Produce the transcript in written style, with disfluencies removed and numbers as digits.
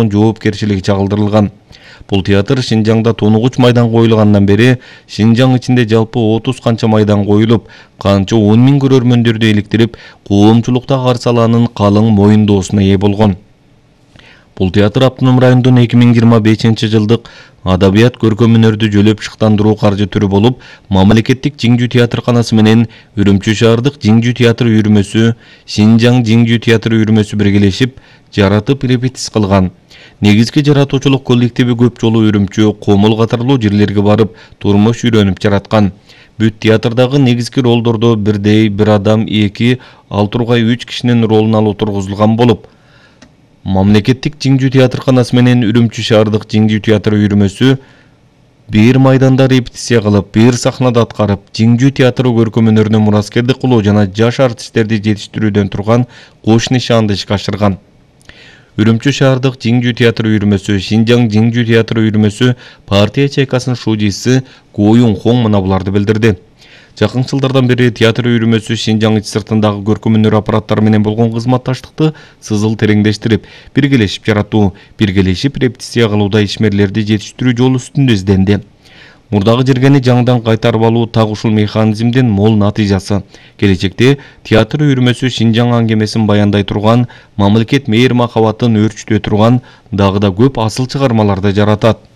жоопкерчилиги чагылдырылган. Бул театр Шинжаңда 93 майдан коюлгандан бери Шинжаң ичинде жалпы 30 канча майдан коюлуп, канча 10 миң көрөрмөндөрдү иликтирип, коомчулукта каршы алаанын калың моюндоосуна ээ болгон. Бул театр автоном райондун 2025 жылдык адабият көркөм өнөрдү жөлөп шыктандыруу каржы түрү болуп, мамлекеттик Жиңжүү театрканасы менен Үрүмчү шаардык Жиңжүү театр үйүрмөсү, Шинжаң Жиңжүү театр үйүрмөсү биргелешип, жаратып репетиция кылган. Негизги жаратуучулук коллективи көп жолу Үрүмчү, Комул катарлуу жерлерге барып, турмуш үйрөнүп жараткан. Бүт театрдагы негизги ролдордо бирдей бир адам 2, ал тургай 3 кишинин ролун алып тургузулган болуп, мамлекеттик Жиңжүү театрканасы менен Үрүмчү шаардык Жиңжүү театр үйүрмөсү бир майданда репетиция кылып, бир сахнада аткарып, Жиңжүү театры көркөм өнөрүнө мураскердик кылуу жана жаш артисттерди жетиштирүүдөн турган кош нишаанды ишке ашырган. Үрүмчү шаардык Жиңжүү театр үйүрмөсү, Шинжаң Жиңжүү театр үйүрмөсү партия чайкасынын шужиси Гоюн Хоң мына буларды билдирди. Жакын жылдардан бери театр үйүрмөсү Шинжаң ич сыртындагы көркөм өнөр аппараттары менен болгон кызматташтыкты сызыл тереңдештирип, биргелешип жаратуу, биргелешип репетиция кылууда ишмерлерди жетиштирүү жолу үстүндө изденди. Мурдагы жергени жаңыдан кайтарып алуу так ушул механизмдин мол натыйжасы. Келечекте театр үйүрмөсү Шинжаң аңгемесин баяндай турган, мамлекет мээр махабатын өөрчүтө турган дагы да көп асыл чыгармаларды жаратат.